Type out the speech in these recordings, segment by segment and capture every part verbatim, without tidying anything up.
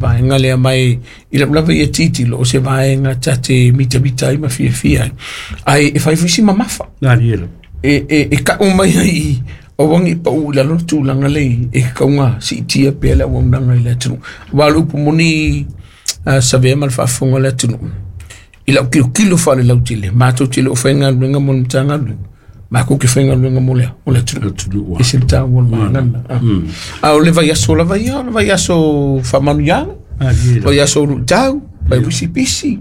Vaega lea mai i lau lava ia titilo o se vaega ta te mitamita ai ma fiafia ai. Ae e fai foi si mamafa. E, e, e ka'u mai ai aua nei pa'u i lalo le tulaga lei e kauga si'itia pea le auaunaga i le atunuu. Aua o le upu moni uh, savea ma le faafofoga o le atunuu. I lau kilokilo faalelautele, matou te le o faigaluega mo le Matagaluega, matou te faigaluega mo le mo le atunuu. E se le taua o le vaega lena. A o le vaiaso lava ia, o le vaiaso faamanuiaga, vaiaso o lu'itau, vai pisipisi.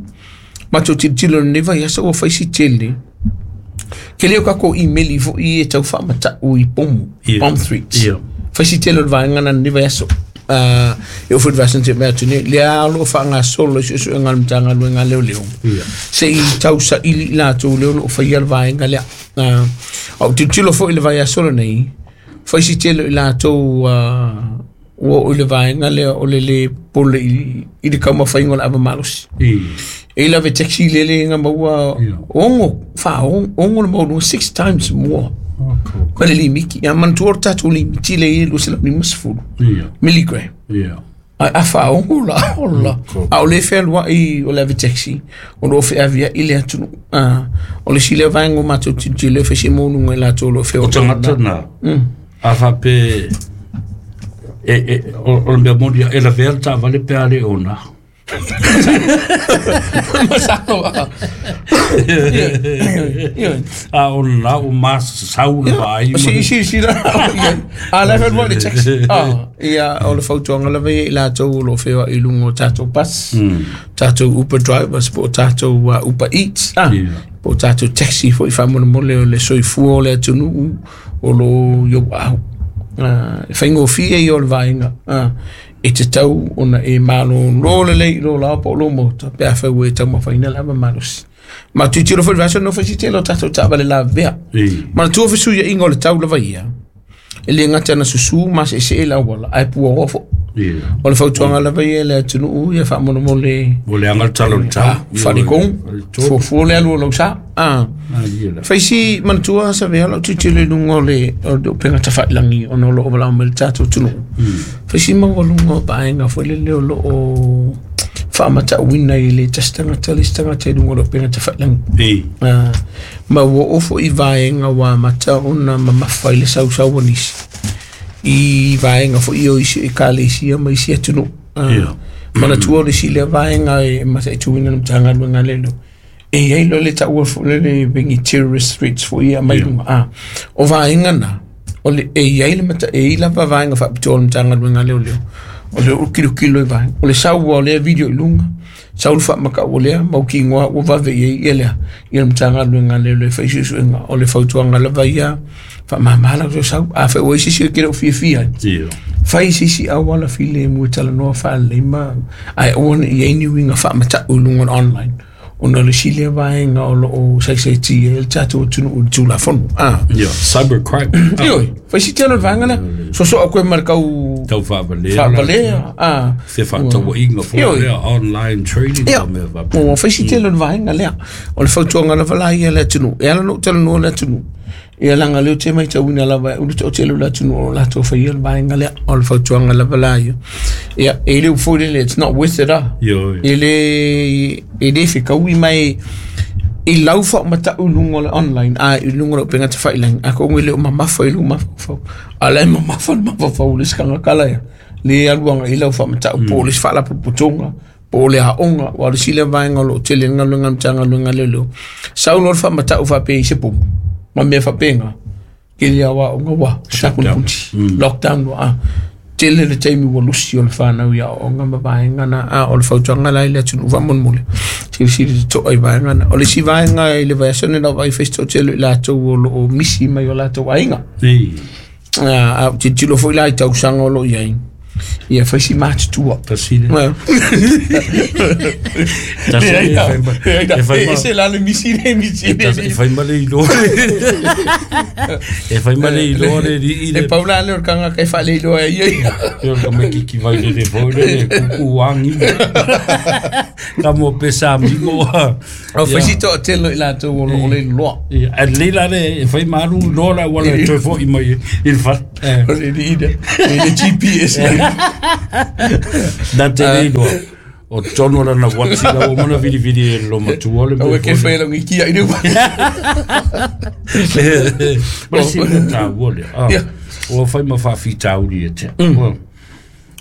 Matou tilotilo i lenei vaiaso ua fai si tele. Ke leo kako email i foi e tau faamata'u i pomu, bomb threats. Fai si tele o le vaega na lenei vaiaso. Uh, e o foi le vaiaso na tea atu nei, lea o loo faagasolo i suesuega a le Matagaluega a Leoleo. Se i tausaili i latou lea o loo faia le vaega lea. Uh, a ou tilotilo foi i le vaiaso lenei, fai si tele o i latou uh, ua oo i le vaega lea o le lē pole i, i le taumafaiga o le ava malosi. E i lava taxi lele nga maua ogo fa ogo le maua six times more. Ma le limiti. Ia manatua o le tatou limiti le i lua selau lima sefulu milligram. Ai a faaogo la ola. A o le fealuai o le ave taxi, o loo feaviai le atunuu. Ah, o le isi lea vaega o matou tilotilo e fai se maualuga i latou o lo o O tagata na, a faapea e, e, o, o le mea moni e lavea le taavale pe a le ona. Masalo a. A o lena ua masasau le vaai. Si si si la. A la fealuai le taxi. Ah, ia o le fautuaga lava ia i latou o lo o feoai i luga o tatou bus, tatou Uber drivers po o tatou uh, Uber Eats, ah, po o tatou taxi foi faamolemole o le soifua o le atunuu o lo o i ou aao. Uh, e faigofie ia o le vaega. Uh, e tatau ona e malōlō lelei i lō lao po o lō maota pe afai ua e taumafaina le ava malosi. Ma tilotilo foi i le vaiaso no fai si tele o tatou taavale lavea. Manatua fesuiaiga o le tau lava ia, e le gata na susū ma seesee le auala, ae puaoa foi. O le fautuaga lava ia i le atunuu ia faamolemole. Ua leaga le tala o le tau. Faletonu, fuafua le alu o lau sa. Ah. Fai si manatua savea lau tilotilo i luga o le o le upega tafailagi ona o loo valaau mai le tatou atunuu. Fai si maualuga o vaega foi lele o loo faamatauina i le tasi tagata le isi tagata i luga o le upega tafailagi. Ah, ma ua oo foi i vaega ua amata ona mamafa i le sausau o nisi i vaega foi o isi ekalesia ma isi atunuu. Ah, manatua o le isi lea vaega e mataituina le Matagaluega a Leoleo. E iai loa le taua foi lele vengi terrorist threats foi ia mai luga. Ah, o vaega na, o le e iai le mata, e i lava vaega faapitoa o le Matagaluega a Leoleo. O le kilokilo i vaega. O le sau o lea video i luga, sau le faamakau o lea mautinoa ua vave i ai ia lea ia le Matagaluega a Leoleo e fai suesuega. O le fautuaga lava ia faamama lau sau. Afai ua i se isi e te le o fiafia ai, fai se isi auala filemu e talanoa faalelei ma ae aua ne i ai ni uiga faamata'u i luga o le online. Ona o le isi lea vaega o loo saisaitia ai le tatou atunuu i le Tulafono. Ah. Cybercrime. Ioe, fai si tele o le vaega lea. Sosoa koe ma le tau Tau faavalea. Faavalea. Ah. Se faatauaiga foi lea, online trading. Ia, ua fai si tele o le vaega lea. O le fautuaga lava la ia i le atunuu. E ala ona ou talanoa le atunuu, ia leaga lea ou te matauina lava e ulu toatele o le atunuu o latou faia le vaega lea. O le fautuaga lava la ia. Ia, e le upu foi lele, it's not worth it ah. E le, e le fekaui mai i lau faamatau i luga o le online, a i luga o le upega tafailagi, a kogo e le o mamafa i lou mafaufau. A la e mamafa le mafaufau o le isi tagata la ia. Le alu agai i lau faamatau po o le isi faalapotopotoga, po o le aoga, aua o le isi lea vaega o loo tele ai le galuega a le Matagaluega a Leoleo. Sau loa le faamatau faapea i se pomu, ma mea faapena, tele lava o aoga ua tapunaputi, lockdown ua ah. Tele le taimi ua lusi o le fanau i aoaoga ma vaega na. A o le fautuaga la i le atunuu faamolemole, silasila totoa i vaega na. O le isi vaega i le vaiaso lenei lau vaai fai si toatele i latou o loo misi mai o latou aiga. A ou tilotilo foi la i tausaga o loo i ai, ia fai si matutua. Tasi le. Tasi le. E fai ma. E se la le misi le misi. E fai ma le iloa. E fai ma le iloa le rii le. E pau la le o le tagata e faaleiloa ai ia. Ia o le tamaititi vai lele foi le kuku angi. Ka mo pesa amigo. O fai si toatele i latou o loo le iloa. Ia, a lelei la le e fai ma alu loa le auala e toe foi mai i le fale. O le rii le, le G P S. Na te leilo. O tono la na wati la o mana vili vili e lo matua le. O ke whai langi kia i rua. Ma si me tā uole. O whai ma whawhi tāuri e te.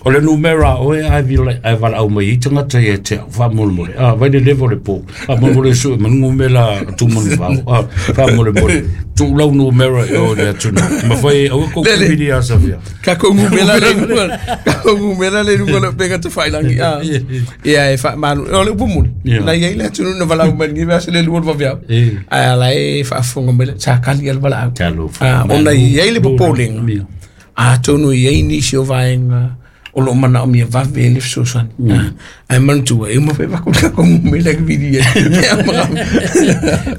O le numera oe ai vila ai vala au mai i tangata i e te wha mole mole. Ah, vai le levo le po. Wha mole mole su manu mela tu manu whao. Ah, wha mole mole. Tu lau numera e o le atuna. Ma whai au ko vili a safia. Ka ko ngumela le nunga. Ka ko ngumela le nunga le penga te whailangi. Ah. Ia e wha manu. O le upu muli. Na iei le atunu na vala au mai ngi vea se le lua vavia. Ai ala e whaafonga mele. Sa kali al vala au. Ah, ona iei le popolenga. A tonu iei nisi o vaenga. O lo mana o mia vave le fesoasoani. Ae manatua e uma faivako le kakou gumela ke vili ai.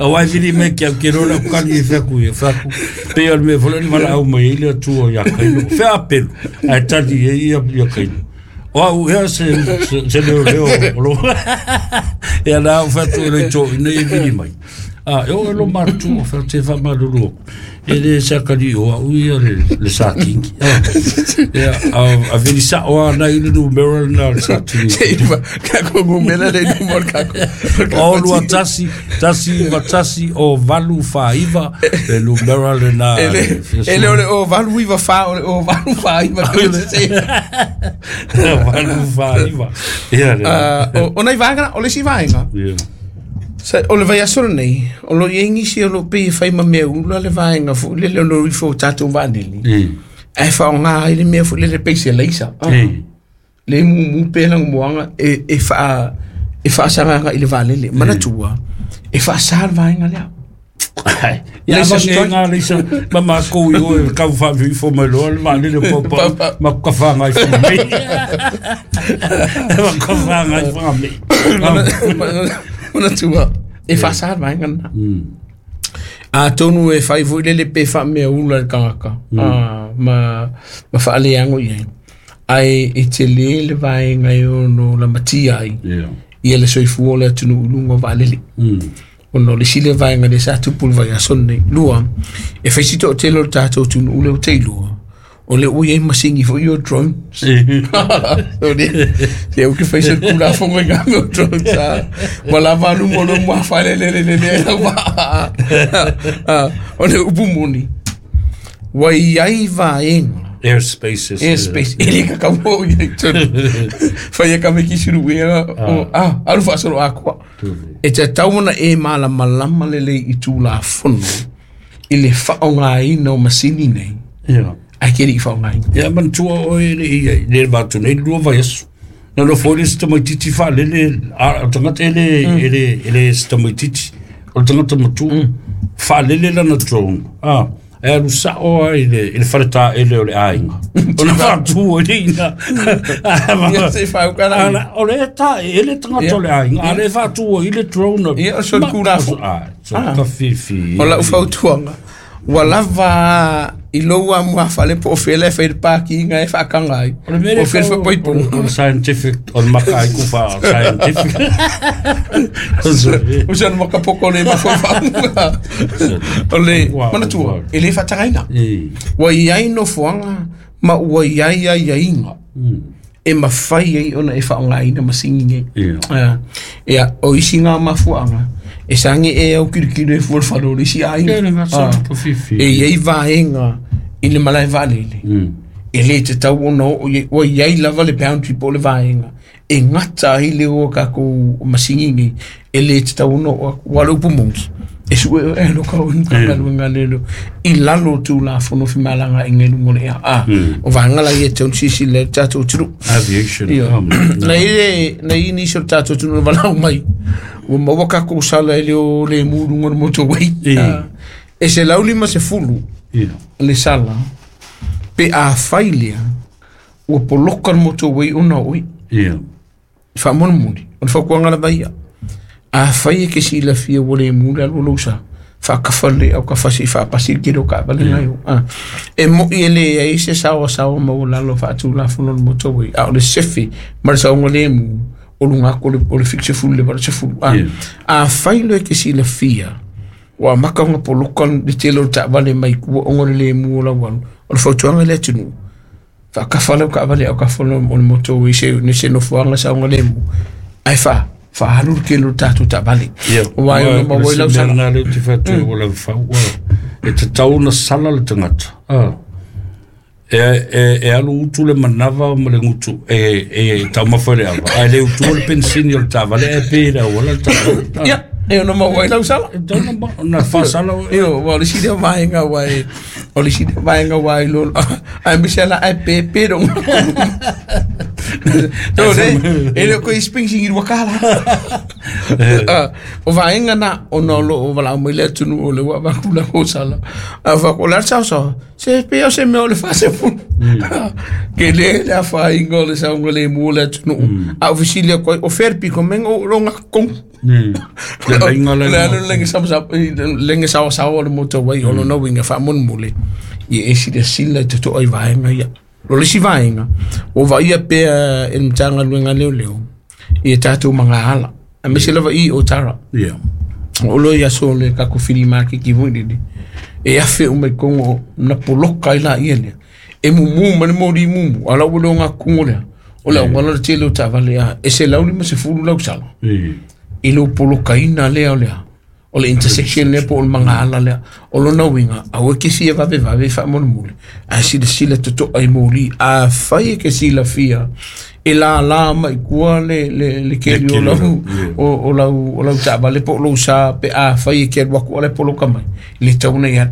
O ai vili mai ke au ke lola o kali e feaku e feaku. Pe o le mea fola ni valaau mai ai le atua ia kailo. Fea apelu. Ae tali e ia ia kailo. O au ea se se leo leo o lo. Ia na au featu e le tō ina e vili mai. Ah, e o e lo matu o fea te whamaruru. E le sakari o au ia le, le sākingi. Ia, a, a vili sa o ana i le numera na le sākingi. Se iwa, kako ngumela le numera kako. O lua tasi, tasi iwa tasi o valu whaiva, le numera le na. E le o le o valu iwa wha, o le o valu whaiva. Valu whaiva. Ia le. O nei vaenga, o le si vaenga. Ia. Sa o le vai aso nei, o lo i ngisi o lo pe fai ma mea ula le vaenga fu le le no ifo tatou vanili. Ai fa nga ile mea fu le le peise leisa. Le mu mu pe lang moanga e e fa e fa sanga ile valele manatua. E fa sal vaenga le. Ia ma nga leisa ma ma ko i o ka fa vi fo me lo le valele po po ma ka fa ngai fo me. Ma ka fa ngai fo me. Ona tua e fa sa vaenga na. A tonu e fai foi le pe fa me ula le kangaka. Ah ma ma fa le ango ia. Ai e te le le vaenga e ono la matia ai. Ia le soifua le atunu ulunga valele. Ono le sile vaenga le sa tupu vai a sonne lua. E fai sito te lo tatou tunu ule o te lua. O le ui e masingi for your drones. O le se o ke fai se kula fonga nga mo drones. Wala valu mo lo mo fa le le le le le. O le upu moni. Wai ai vaenga. Airspace. Airspace. Ele ka ka mo i tonu. Fai e ka me kisuru e o ah alu fa solo akwa. E te tauna e mala malama le le i tū la fono. I le whaonga i no masini nei. Yeah. Ai ke ri whaonga i. Ia man tua o e le i le vatu nei lua vai aso. Na no foi le sitamaititi whaalele, a tangata ele, ele, ele sitamaititi. O le tangata matu, whaalele lana drone. Ah. E alu sao ai le le whareta ele o le ainga. O na whātu o le ina. Ia se whau ka la. O le ta ele tangata o le ainga. A le whātu o i le drone. Ia o so kura fo. So ka fifi. O la ufautuanga. Wa lava i loa mua whale po whele whai pāki inga e whakanga ai. O O whele whai O le scientific, o le maka ai kuwha scientific. O se maka poko le maka whaunga. O le manatua, e le whatangaina. Wa iai no fuanga, ma ua iai ai ainga. E mawhai ai ona e whaonga ina masingi nge. Ia, o isi ngā mafuanga. E sangi e au kirikiri e fual whalo le si ainga. E iei vaenga i le malae valele. E le te tau ona o iei lava le boundary po le vaenga. E ngata ai le o kako masingi nge. E le te tau ona o wale upu mongi. E sue o e lo kau inga lelo. I lalo tu la fono fi malanga i ngelu ngole ea. Ah, o vaenga la i e te on sisi le tātou tunu. Aviation. Na i na i nisio tātou tunu walau mai. O maua kako sala e leo le muru ngona motorway. E se lauli ma se fulu. Le sala. Pe a whailea. Ua poloka motorway ona oi. Wha mona muli. O le whakuanga la vaia. A whai e ke si la fia ua le muru alu lausa. Whakawhale au ka whasi whapasi ki ro ka vale ngai o. E mo i ele e se sawa sawa ma o lalo whaatu la fono le motorway. A o le sefi ma le saunga le mu. O lunga ko le o le fixe fulu le vale se fulu. A a whai le ke si la fia. Wa maka nga poloka le telo ta vale mai kua ongo le mu o la walu. O le whautuanga le tunu. Whaakawha lau ka awale au ka whano o le moto i se ne se nofoanga sa unga lemu. Ai wha, wha halu ke lo tātou ta vale. O wai o ma wai lau sala. Nā leo te whatu o lau whau. E te tau na sala le tangata. E, e, e alu utu le manawa ma le ngutu e, e tau mawha le awa. Ai le utu o le pensini o le tāvale e pēra o la tāvale. Ia, e ono ma wai lau sala. E tau na, na whasala. Io, wa le sida vaenga wai, o le sida vaenga wai lo, ai misela ai pe pe dong. No le, e le ko isping i wakala. O vaenga na o no lo o vala mai le tunu o le wa va kula ko sala. A va ko la sa sa. Se pe o se me o le fa se fu. Ke le la fa ingo le sa ngo le mu le tunu. A ofisilia ko o ferpi ko mengo ronga kong. Le lenga le lenga sa sa lenga sa sa o le moto wai o no winga fa mon mule. I e si de sila te to ai vaenga ia. Lo le si vaenga o va ia pe e mtanga luenga leo leo. I e tātou mga ala. A me se lava i o tara. Yeah. O lo ia so le kako whiri mā ki ki vui. E awhe o mai kongo na poloka i la ia lea. E mumu mane mori mumu. Ala ua ngā kungo lea. O la wala le tele o tāvale a. E se lauli ma se fulu lau sala. I lo poloka ina lea o lea. O le intersection lea po o le mga ala lea. O lo nauinga. A ua ke sia vave vave wha mone mule. A sila sila toto ai moli. A whai e ke sila fia. E la la mai kua le le le keli o lau o o lau o lau tāvale po lo sa pe a whai e ke waku ole poloka mai. Le tauna ia.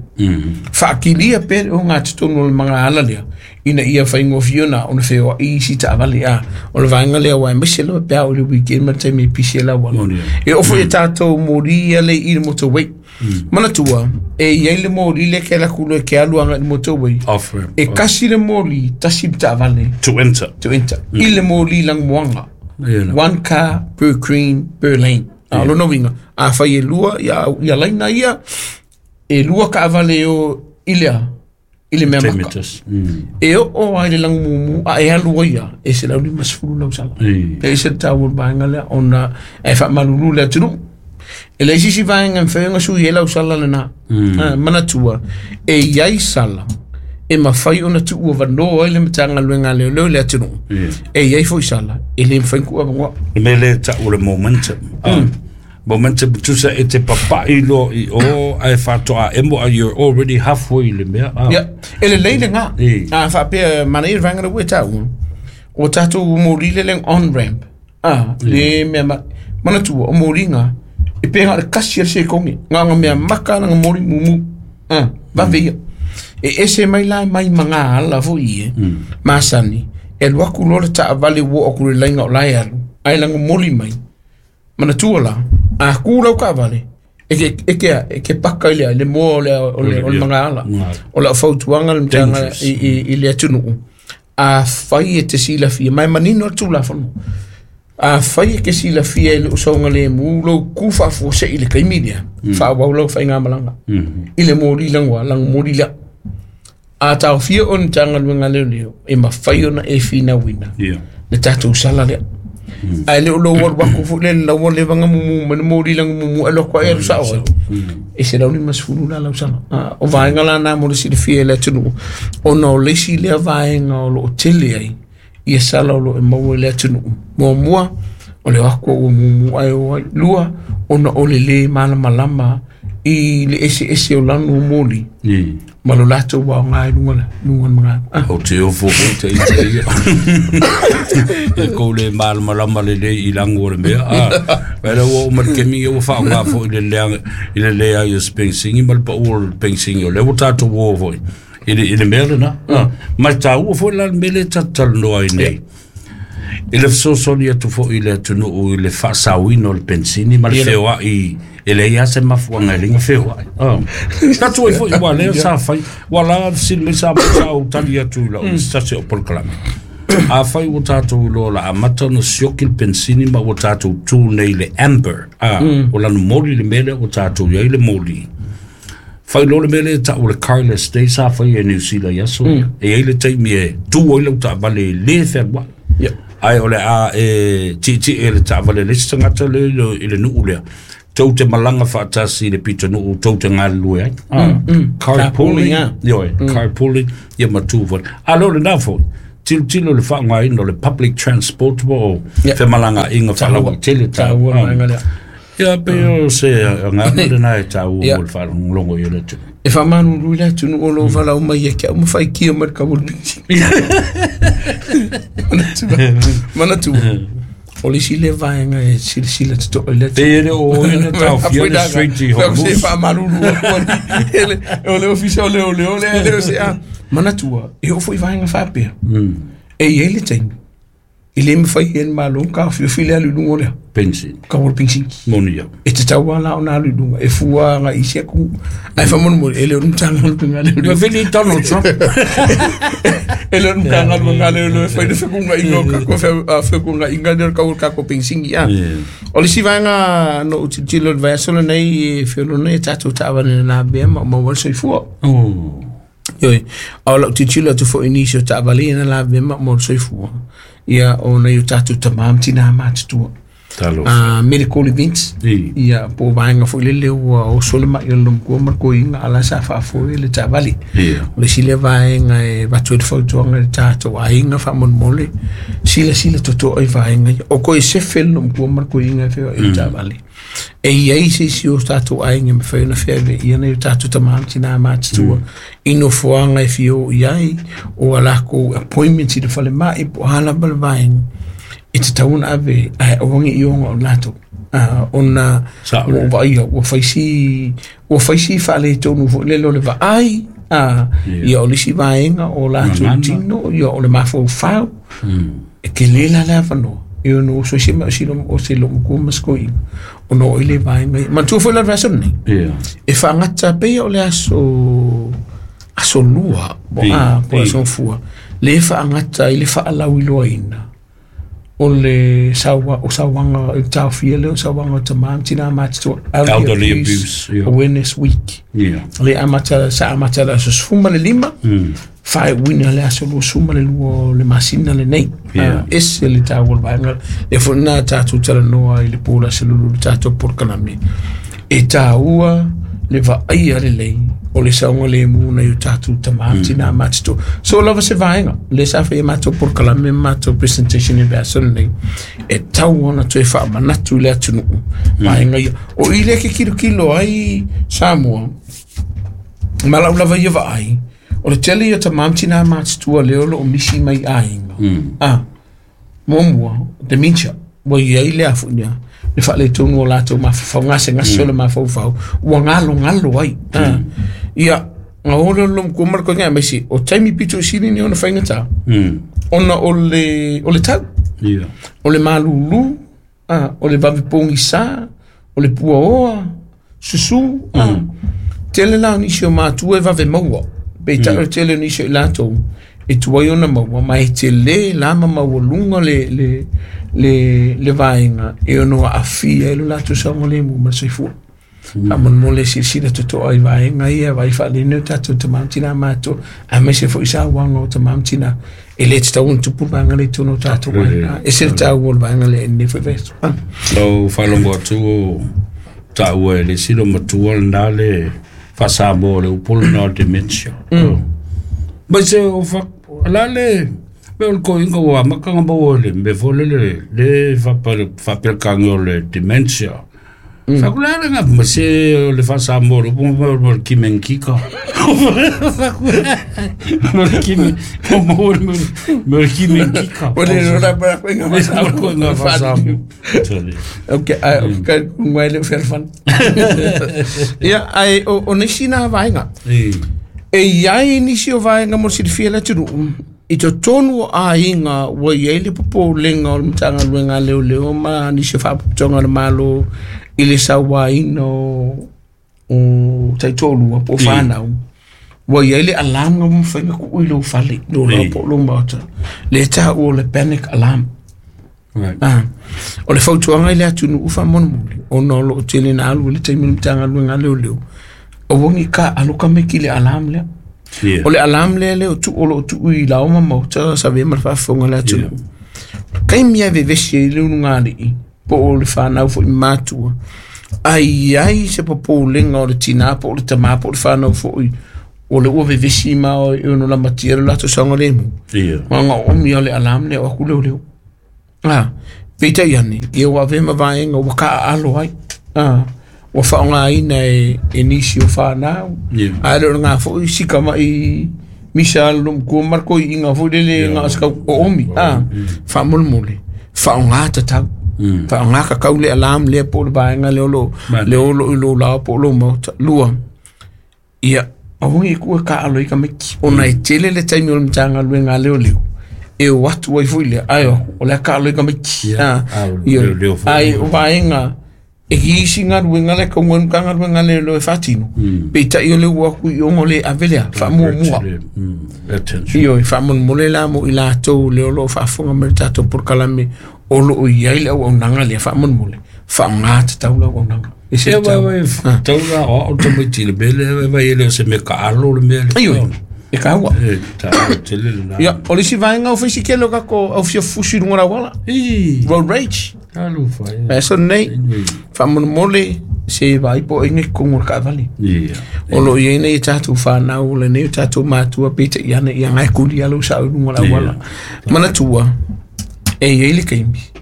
Whaakilia pe o ngā titonu o le mga ala lea. Ina ia whaingo fiona o na wheoa i si tāvale a. O le vaenga lea wai maise lewa pea o le weekend ma te me pisi la wala. E ofo e tātou mori ia le i le motorway. Manatua, e iai le mori le ke la kulo e ke aluanga i le motorway. E kasi le mori tasi tāvale. To enter. To enter. I le mori lang moanga. One car per green per lane. A lo novinga. A whai e lua, ia, ia laina ia, e lua ka avale o ilea. I le mea maka. E o o ai le langu mumu, a e alu ia, e se lauli masfulu lau sala. E se tau o vaenga lea, ona e wha malulu lea tunu. E le sisi vaenga mwhaenga sui e lau sala le nā. Manatua, e iai sala, e mawhai ona tu ua vanoa i le matanga luenga leo leo lea tunu. E iai foi sala, e le mwhaengu awangoa. E me le tau le momentum. Momentum tusa e te papai lo i o ai whatoa emo a you're already halfway le mea. Yeah. E le leile ngā. A whapea mana i rangara ue tau. O tātou mori le leng on-ramp. Ah, le mea ma, manatua o mori ngā. E pēnga le kasi al se kongi. Ngā ngā mea maka ngā mori mumu. Ah, vave ia. E ese mai la mai mga ala fo i e. Masani. E luaku lo le taavale wo o kure lainga o lai alu. Ai langa mori mai. Manatua la. A kū lau ka vale. E ke e ke e ke paka ile le mo le o le o mga ala. O la fautuanga le mtanga i i i le atunu. A whai e te sila fia mai manino atu la whano. A whai e ke sila fia i le usonga le mu lo kufa fo se i le kaimilia. Wha wau lau whai ngā malanga. I le mori langwa lang mori la. A tau fia o mtanga luenga leo leo e mawhai ona e whina wina. Le tātou sala lea. Ai le lo war waku fu le la wale vanga mumu man mori lang mumu alo ko e sa o e se launi masfulu la la sala o vaenga la na mo le fie le tunu o no le si le vaenga o lo tele ai ia sala o lo e mo le tunu mo mua o le waku o mumu ai o lua o no o le le malamalama i le ese ese o lanu moli ma lo lato wa ngai lunga la lunga mga o te o fo te i te ia e ko le malamalama le le i langu o le mea a wera o ma ke mi o fa ngā fo i le lea i le lea i o spengsingi ma le pa o le pengsingi o le o tātou o fo i le i le mea le na mai tā ua fo la mele tatal noa i nei i le fesoasoani atu foʻi i le atunuu i le faasauina o le pensini ma le feoaʻi e leai a se mafuaga e leiga feoaʻi tatu ai foʻi ua lea sa fai ua la fesili mai sa sa ou tali atu i lau sase o polokalame a fai ua tatou iloa la amata ona sioki le pensini ma ua tatou tu nei le amber a o lana moli le mea lea ua tatou iai le moli fai lo le mele ta o le carless day sa fai e New Zealand ia so e ai le taimi e tu ai lau taavale le fealuaʻi ai o le a e ti ti e le taavale le isi tagata le i le nuu lea tou te malaga faatasi i le pitonuu tou te galulue ai carpooling ioe carpooling ia ma tu foi a leo lenā foi Tilotilo le faaaogaina o le public transport po o femalagaaiga faalauaitele taua vaega lea. Ia pei o se agaga lena e taua mo le faalogologo i o le atunuu. E faamalulu i le atunuu o lou valaau mai ia te au ma faikia mai le kau o le pinisini. Manatua, o le isi lea vaega e silasila totoa i le atunuu. Pei e le o oe na taofia le Strait i Hormuz. Se faamalulu atu o le ofisa o leoleo lea e le o se a. Manatua, e oo foi vaega faapea. E i ai le taimi, i le mafai e le Malo ona taofiofi le alu i luga o lea. Penisini. Kau o le penisini. Moni ia. E tatau lava la ona alu i luga, e fua agai i isi atunuu. Ae faamolemole, e le o le Matagaluega a Leoleo. Ua vili Donald Trump. E le o le Matagaluega a Leoleo e fai le fetuunaiga o tatou fetuunaiga lea o le kau o le tatou penisini. O le isi vaega na ou tilotilo i le vaiaso lenei e feoloolo nei tatou taavale na lavea ma maua ai le soifua. Ioe, a o lau tilotilo atu foi i nisi o taavale ia na lavea ma maua le soifua. Ia, o nai o tatou tamā ma tinā matutua. Uh, medical events. Ia, po o vaega foi lele ua oso le mai o le lomkua ma le koiga a la sa faafoe le taavale. O le isi lea vaega e avatu ai le fautuaga i le tatou aiga faamolemole, silasila totoa i vaega ia. O koe sefe le lomkua ma le koiga e feoai i le taavale. E iai se isi o tatou aiga e mafai ona feaveaia nai o tatou tamā ma tinā matutua i nofoaga e fia oo i ai o a lakou appointments i le falemai po o a lava le vaega e tatau ona ave ae aua ne i oga o latou. Ona ua ou vaaia ua fai si ua fai si faaletonu foi lele o le vaai ia o le isi vaega o latou tino ia o le mafaufau e tele la le avanoa e ono oso ai se o se lomatua ma se toeaina ona oo i le vaega ia. Manatua foi la le vaiaso lenei e faagata pei o le aso aso lua po o aso fua le faagata ai le faalauiloaina o le saua o sauaga o le taofia lea o sauaga o tamā ma tinā matutua Elderly Abuse Awareness Week. Le amata sa amata le aso sefulu ma le lima faaiuina le aso luasefulu ma le lua o le masina lenei. Ese le taua o le vaega lea foi lena tatou talanoa i le po o le aso lulu i le tatou polokalame e taua le vaaia lelei o le saogalemu nai o tatou tamā ma tinā matutua. So lava se vaega lea sa faia matou polokalame ma matou presentation i le vaiaso lenei e tau ona toe faamanatu i le atunuu vaega ia. O i lea ke kilokilo ai Samoa ma lau lava ia vaai o le tele ia tamā ma tinā matutua lea o loo misi mai aiga. Ah, muamua dementia ua iai le afu nia le faaletonu o latou mafaufau gasegase o le mafaufau ua galogalo ai. Ia ga oo lea o le lomatua ma le koiga aemaise o taimi pito i sili nei ona faigata ona o le o le tau o le malūlū o le vave pogisa o le puaoa susū. Tele la o nisi o matua e vave maua peitai o le tele o nisi o i latou e tuai ona maua ma e tele la ma maualuga le le le le vaega e ono aafia ai lo latou saogalemu ma le soifua. Faamolemole silasila totoa i vaega ia vaai faalelei o tatou tamā ma tinā matutua aemaise foi sauaga o tamā ma tinā e le tatau ona tupu le vaega lea i totonu o tatou aiga. Ese le taua o le vaega lea i lenei foi vaiaso. Lau faalogo atu o taua e le isi matua lena le faasamoa o le upu lena o le dementia. Mai se o fa la le me o le koiga ua amata ona maua i le mea foi lele le faapelekage o le dementia. Faku le ale ma se o le faasamoa o le upu ma o le kimenkika. Mo le kime mo mo le kimenkika. O le la ba ko inga faasamoa faasamoa. Okay, ai o ka ngai le felfan. Ia ai o o nisi na vaega. E iai nisi o vaega mo le silafia i le atunuu i totonu o aiga ua iai le popolega o le Matagaluega a Leoleo ma nisi o faalapotopotoga a le Malo i le sauaina o o taitoalua po o fanau ua iai le alarm ua mafai ona tuu i lou fale lou laoa po o lou maota lea e taua o le panic alarm. Ah, o le fautuaga i le atunuu faamolemole ona o loo tele na alu i le taimi o le Matagaluega a Leoleo aua ne i taaalo tamaiti i le alarm lea. O le alarm lea lea o tuu o loo tuu i laoa ma maota sa avea ma le faafofoga a le atunuu. Taimi lava e vevesi ai le ulugalii po o le fanau foi matua ai ai se popolega o le tinā po o le tamā po o le fanau foi O le ua vevesi ma o e ono lamatia le latou saogalemu. Ma nga omi o le alarm lea o aku leoleo. Ah, peitai ane, ia ua avea ma vaega ua kaaalo ai. Ah, ua faaaogaina e, e nisi o whanau. Ae le o ngā foi sika mai misa alo mkua marko i ngā foi lele ngā askau o omi. Ah, whaamolemole, whaonga tatau. Whaonga kakau le alarm le po le vaenga le olo, le olo i lo lao po lo mauta. Lua, ia, awangi kua ka alo i ka meki. O nai tele le taimi o le mtanga lue ngā leo leo. E o atu ai foi lea, ai o, o lea ka alo i ka meki. Ai, o vaenga, e ki isi ngā ruenga le kaunga ngā ngā ruenga le lo e whatino. Peitai o le ua kui i ongo le avelea, whaamua mua. Io, whaamolemole la mo i lātou le olo o whaafonga me tātou porkalame o lo o iai le au au nanga lea whaamolemole. Whaongā te taula au nanga. E se tau. Taula o au tamaiti le mele, e vai ele o se me ka alo le mele. Aio, e ka hua. E, ta tele le nā. Ia, o le si vaenga o whisi kelo kako au fia fusi runga rawala. Road rage. Alu whai. Aso nei, whaamolemole se vai po inge kongo ka vale. O lo ia nei tātou whanau, le nei tātou mātua, pita i ana ia ngai kuli alo sa runga rawala. Manatua, e ia ile kaimi.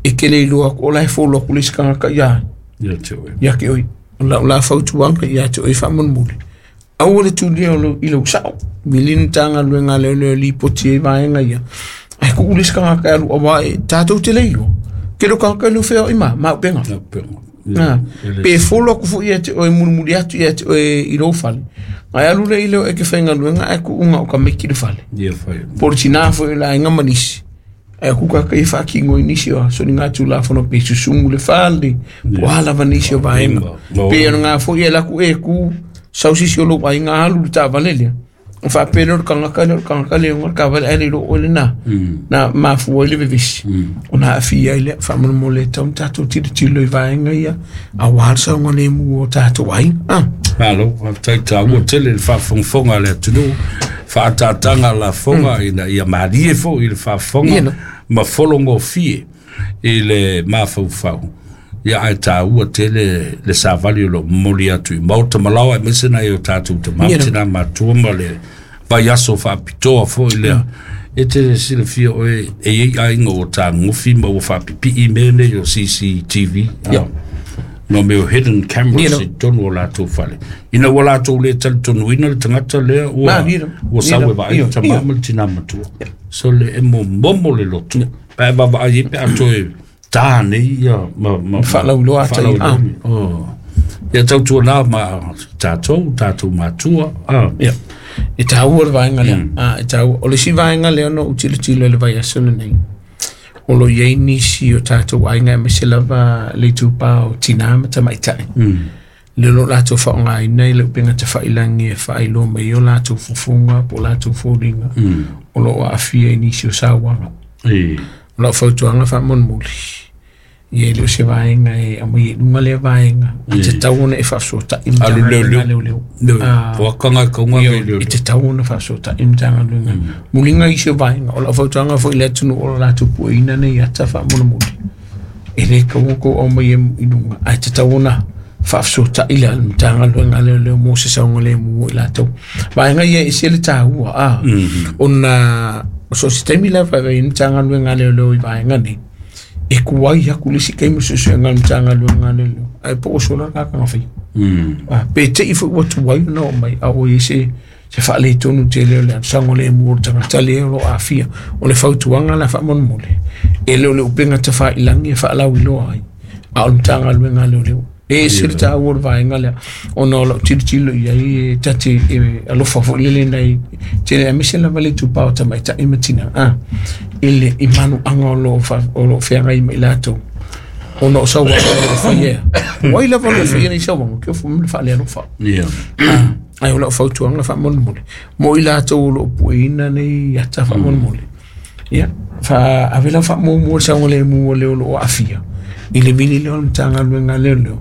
E kele iloa o la e folo ku le sikanga ka ia. Ia te oi. Ia ke oi. O la, o la fautuanga ia te oi whaamolemole. Aua le tulia o lo i lau sao. Milinu tānga luenga leo leo li poti e vaenga ia. Ai ku ule sikanga ka alu awa e tātou te leilo. Ke lo kanga ka whea o ima, ma upenga. Upenga. Pe folo ku fu ia te oi murimuri atu ia te oi i rau fale. Ngai alu le ileo e ke whainga luenga ai ku unga o ka meki le fale. Ia whai. Poro tina fo i la inga manisi. Ai ku kaka i whaakingo i nisi o so ni ngā tū lafono pe susungu le fale. Po alava nisi o vaenga. Pe ano ngā fo ia laku e ku sausisi o lou ai ngā alu le tāvalelea. O whaapele o le kangaka le o le kangaka le o ngā kawale ai le o le nā. Nā mafua i le vevesi. O nā awhia i le whaamolemole tau tātou tiro tiro i vaenga ia. A wālsa o ngā lemu o tātou ai. Malo, whaatai tāua tele le whaafongafonga le atunu. Whaatatanga la fonga ina ia marie fo i le whaafonga. Ma folongo fie i le mafaufau. Ia ai tāua tele le savali o lo moli atu i mauta malawa e mese nai o tātou te mamtina matua ma le vaiaso whaapitoa fo i lea. E te silafia oe e ei ainga o tā ngufi ma o whaapipii mene o C C T V. Yeah. No meo hidden cameras i tonu o lātou whale. Ina ua lātou le tali tonu ina le tangata lea ua, ua sawe vaai ta mama le tina matua. So le e mo momo le lotu. Pae vava ai pe ato e tāne ia ma ma whalauloa tai. Oh. Ia tautua nā ma tātou, tātou matua. Ah. Ia. E tāua le vaenga lea. Ah, e tāua. O le si vaenga lea no utilo tilo le vai aso nei. O lo iei nisi o tātou ainga me se lava le tūpā o tina ma tamaitai. Mm. Le lo lātou whaongaina i le upenga te whailangi e whailoa mai o lātou fufunga po lātou fōringa. Mm. O lo o awhia i nisi o sāwanga. E. O lau fautuanga whaamolemole. Ia e leo se vaenga e amai e lunga lea vaenga. I te tau ona e whaasota i Alu leo mtanga leo leo. Poakanga kaunga me leo leo. I te tau ona whaasota i mtanga lunga. Mulinga i se vaenga. O lau fautuanga fo i le atunu o lātou pueina nei ata whaamolemole. E le kaunga kou au mai e i lunga. Ai te tau ona whaasota i le mtanga lunga leo leo mo se saunga le mua i lātou. Vaenga ia e se le tāua. Ah. Ona so se taimi la whae i mtanga lunga leo leo i vaenga nei. E kuai aku le si kaimu susu ngā mtanga lunga leo leo. Ai po o sola kakanga whai. Mm. Pe te i fo ua tuai na o mai a o i se se whaale tonu te leo leo sango le mua tangata leo lo awhia o le fautuanga la whaamolemole. E leo le upenga te whailangi e whaalau iloa ai. A o mtanga lunga leo leo. E se le tāua le vaenga lea. Ona o lau tilo tilo ia i tate e alofa fo lele nei. Tele a mise lava le tupao tamaitai matina. Ah. Ile i manu anga o lo o lo wheangai mai lātou. Ona o sawa o lo whaia. Wai lava lo whaia nei sawa. Kia fu mle whaale alofa. Yeah. Ai o lau fautuanga whaamolemole. Mo i lātou o lo pueina nei ata whaamolemole. Ia. Wha avela whaamomua sawa le mua leo lo o awhia. I le vili leo mtanga luenga leo leo.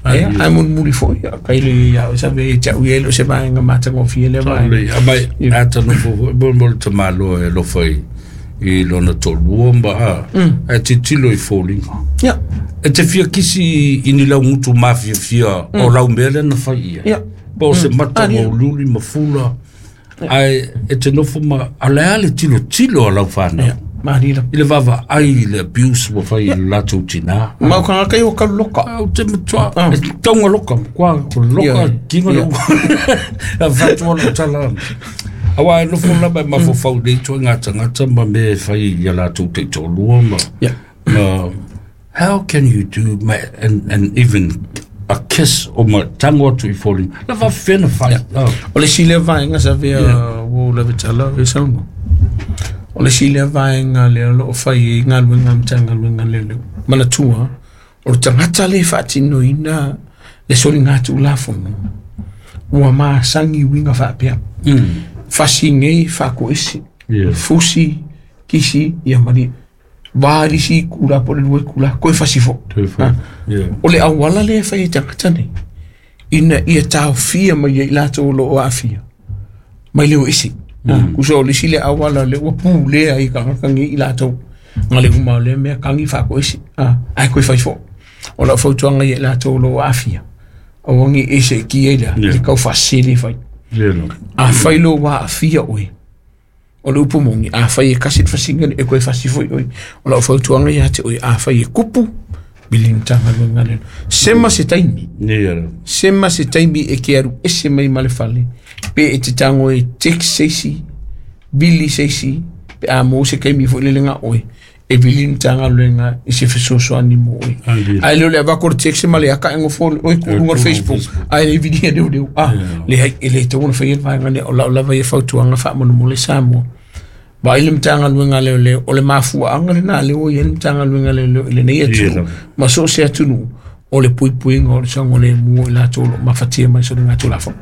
Ai ai mun muri fo ia kai le ia o sabe e tau ia lo se vaenga matanga fia le vaenga. Ai ata no fo bo mo te malo e lo fai i lona tolua ma a e titilo i fōlinga. Ia. E te fia kisi i ni lau ngutu mafia fia o lau mele na fai ia. Ia. Po se mata o luli ma fula. Ai e te nofo ma alea le tilo tilo a lau whanau. Marira. I le vava ai le abuse wa whai i latou tina. Mau kanga kai o kalu loka. Au te matua. E taunga loka. Kwa loka kinga le ua. A whatua lo tala. Awa e nofo lama e mafofau nei toi ngā tangata ma me whai i a latou te tōlua ma. Ma how can you do ma, and, and even a kiss o ma tango atu i fōling. La wa whena whai. O le sile vaenga sa vea wo le vitala e sauno. O le sile vaenga le lo o whai i ngā luenga mtanga luenga le leo. Mana tua, o le tangata le whaatino ina le soli ngā tu lafono. Ua maa sangi winga whaapea. Fasi ngei whaako isi. Fusi, kisi, ia mari. Varisi kula po le lue kula, koe fasi fo. O le awala le whai i tangata nei. Ina ia tāwhia mai ia i lātou lo o awhia. Mai leo isi. Kusa o le sile awala le ua pū lea i kangakangi i lātou. Ngā le uma le mea kangi whako isi. Ai koe whai fo. O lau fautuanga i lātou lo o awhia. O wangi ese ki eila. Le kau whasele whai. A whai lo wā awhia oe. O le upu mongi, a whai e kasi whasinga e koe whasi fo i oi. O lau fautuanga i ate oi, a whai e kupu, bilin tanga lunga lelo. Sema se taimi. Sema se taimi e ke aru ese mai male fale. Pe e te tango e tek seisi, bili seisi, pe a mo se kaimi fo le lenga oi. E bilin tanga lunga i se fesoso ani mo oi. Ai leo le avako le tek se male aka engo fo oi ku Facebook. Ai le vidia leo leo. Ah, le hai le te ona whai vaenga le o lau lava i fautuanga whaamonu mo le Samoa. Ba ile mtanga luenga leo leo o le mafua anga le na leo i mtanga luenga leo leo le nei atu. Ma so se atunu o le pui puinga o le sango le mua i latou lo mafatia mai so le ngā tūlafo.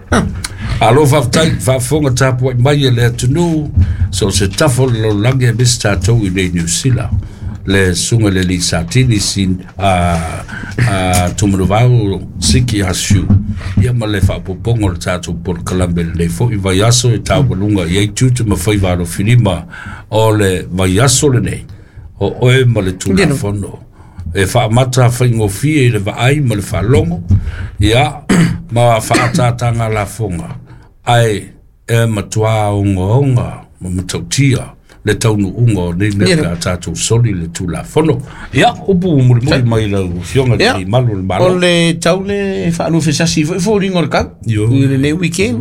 Alo whaftai, whafonga tāpua mai e le atunu, so se tafo lo lange e mis tātou i nei New Zealand. Le sunga le li satini sin a a tumanuvau siki asiu. Ia ma le whaapopongo le tātou por kalambe le fo i vaiaso e tāwalunga i ei tūtu ma whai waro whirima o le vaiaso le nei. O oe ma le tūlafono. E whaamata whaingofie i le vaai ma le whalongo. Ia ma whaatātanga la fonga. Ai e matua onga onga ma matautia. Le taunu unga o nei mea ka tātou soli le tūlafono. Ia, upu muri muri mai lau fionga ni malu le malo. O le tau le whaaluwhesasi fo fo ringo le kau. I le nei weekend.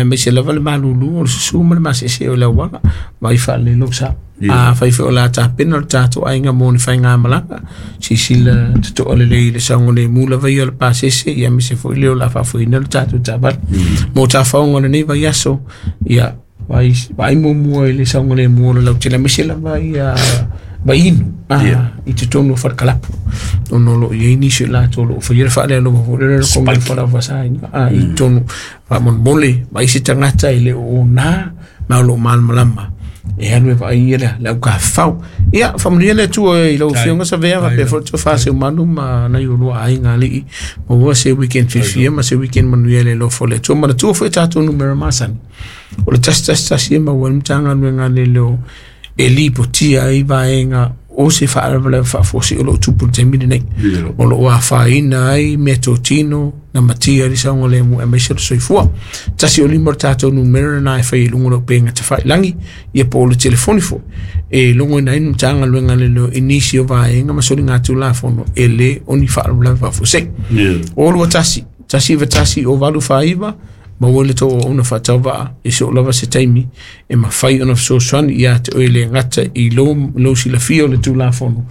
Me se lava le malulu o le susu ma le masese o le awanga. Mai whaale lo sa. A whai whai o la tāpena o le tātou ainga mō ni whai ngā malanga. Sisila tuto o le lei le sango le mula vai o le pāsese. Ia me se fo i leo la whaafuina le tātou tāpana. Mō tāwhaonga le nei vai aso. Ia vai vai mo i le sango le mo le tele misela vai a vai inu a i te tonu whakalapu ono lo i ni se la tolo fo ye fa le lo fo le ko ngai fa la sa a i tonu va mon mole vai se tangata i le o na ma lo mal malama e anu vai i le la ka fau ia familia le tu i lo fionga sa vera pe fo to fa se manu ma na yo lo ai ngali mo wa se weekend fifia ma se weekend manuia le lo fo le tu ma tu fo ta tu numero masani o le tas tas tas e ma wan tanga nuenga le lo e lipo tia i vaenga o se whaaravala whaafosi o lo tupu te mire nei. O lo wā whaina ai me tōtino na matia ri saunga le mu e meise soifua. Tasi o lima tātou numera na e whai lungo lo penga te whai langi ia po o le telefoni fo. E lungo ina inu tanga luenga le lo inisi o vaenga masoli ngā tūlafono e le oni whaaravala whaafosi. O lua tasi, tasi wa tasi o walu whaiva ma wole to ona whatawa e so lava se taimi e ma whai ona so swan ia te oile ngata i lo lo sila fio le tūlafono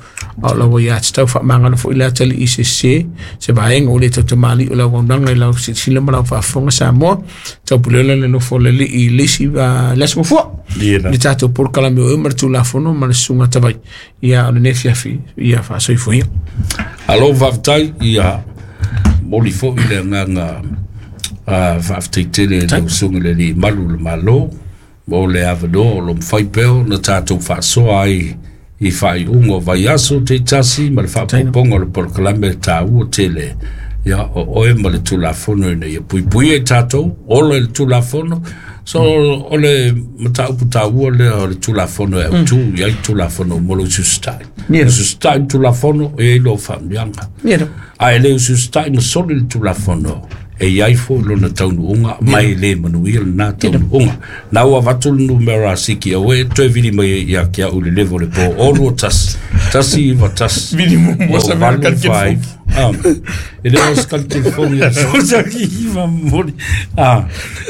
a la wa ia te tau whaamangana fo i la tali i se se se vaenga o le tau tamali o la waunanga i lau se sila ma lau whaafonga Samoa tau pulela le nofo le li i lesi uh, lesi mofua le tātou porkalame o e ma le tūlafono ma le sunga tawai ia o le nefiafi ia whaasoifo ia. Alo whaftai ia moli fo i le nganga a whaftai tele le usunga le li malu le malo mo le avano o lo mwhai peo na tātou whaasoa ai i whai ungo vai aso te tasi ma le whaapoponga o le porokalame tā ua tele ia o oe ma le tūlafono ina ia puipui e tātou ola le tūlafono so o le mataupu tā ua lea o le tūlafono e autu mm. Ia i tūlafono mo le usustai usustai tūlafono e i lo whaamianga a e le usustai ma soli le tūlafono E iai fo lona taunuuga mai le manuia lena taunuuga. Na ua avatu le numera siki aue toe vili mai ia ke au le levo le po o lua tasi tasi iva tasi vili muamua o sa mea valu kali five. telefoni. Ah, e le o se kali telefoni ia so ki iva moli. Ah,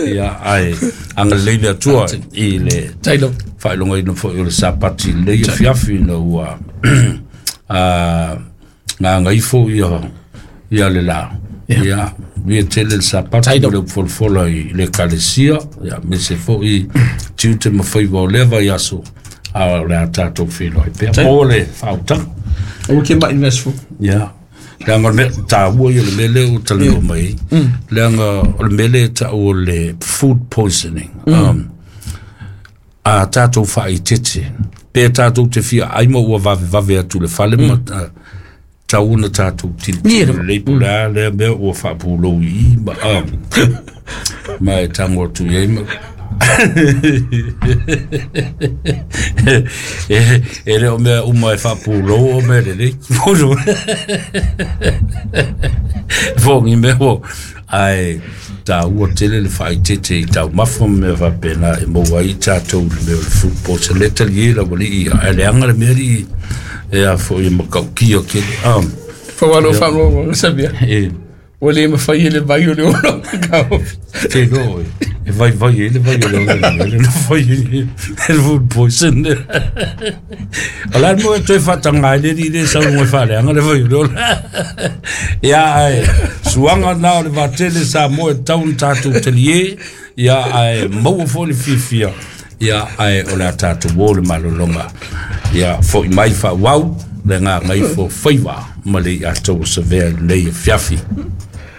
ia ai agalelei le Atua i le Tailo. faailogaina foi o le sapati lelei afiafi ina ua a gagaifo ia ia le la. Ia ia tele le sapati Tailo. ma le upufolafola i le ekalesia ia mese foi tiute ma faiva o lea vaiaso a o le a tatou feiloai pea Tailo. mo le faautaga. Aua ke mai le aso. Ia leaga o le mea taua ia o le mea lea ua talanoa mai ai leaga o le mea lea e tau o le food poisoning. Um, a tatou faaitete pe tatou te fia ai ma ua vavevave atu le fale ma ah, tau ona tatou tilotilo lelei po o le a lea mea ua faapulou i i ma ah, ma e tago atu i ai ma e e le o mea uma e faapulou o mea lelei fogi mea ua ae taua tele le faaitete i taumafa ma mea faapena e maua ai tatou i le mea o le food poison le talie laualii ae leaga le mea alii e a foi e makaukia kele ah, Faualo faamauamauga sabia. e Ua le mafai e le vai o le ono kaofi. te loa e e vaivai ai le vai o le ona le mea le na fai ai le food poison. O la le mo e toe faataga ai le alii le saunoa e faaleaga le vai o le ola. Ia ae suaga na o le vatele Samoa e tatau ona tatou talie ia ae maua foi le fiafia ia ae o le a tatou o le malologa ia foi mai faauau le gagaifo faiva ma le iatou o savea i lenei afiafi.